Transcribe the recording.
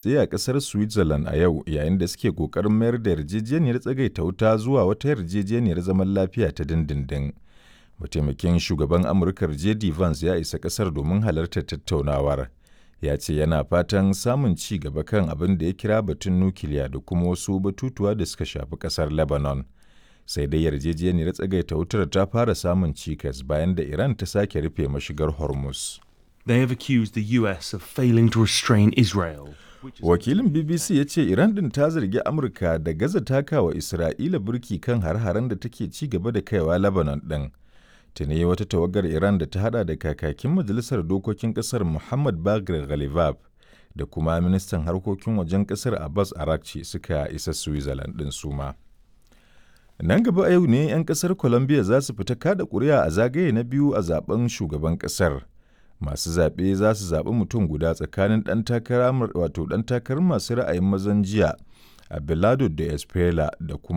Tsaye a ƙasar Switzerland a yau yayin da suke ƙoƙarin mayar da yarjejeniyar tsagaita wuta zuwa wata yarjejeniyar zaman lafiya ta dindindin. Mataimakin Shugaban Amurkar JD Vance ya isa ƙasar domin halartar tattaunawar. Ya ce yana fatan samun ci gaba kan abin da ya kira batun nukiliya da kuma wasu batutuwa da suka shafi ƙasar Lebanon. Sai dai yarjejeniyar tsagaita wutar ta fara samun cikas bayan da Iran ta sake rufe mashigar Hormuz. They have accused the US of failing to restrain Israel. Wakilin BBC ya ce Iran din ta zargi Amurka da gaza takawa Isra'ila burki kan har-haren da take ci gaba da kaiwa Lebanon ɗin. Tuni wata tawagar Iran da ta hada da kakakin Majalisar Dokokin Ƙasar Muhammad Bagher Ghalibaf da kuma ministan harkokin wajen ƙasar Abbas Araghchi suka isa Switzerland ɗin suma. Nan gaba a yau ne 'yan ƙasar Colombia za su fita kada ƙuri'a a zagaye na biyu a zaben shugaban ƙasar. Masu zaɓe za su zaɓi mutum guda tsakanin ɗan takarar masu ra'ayin mazan jiya Abelardo de Espela da kuma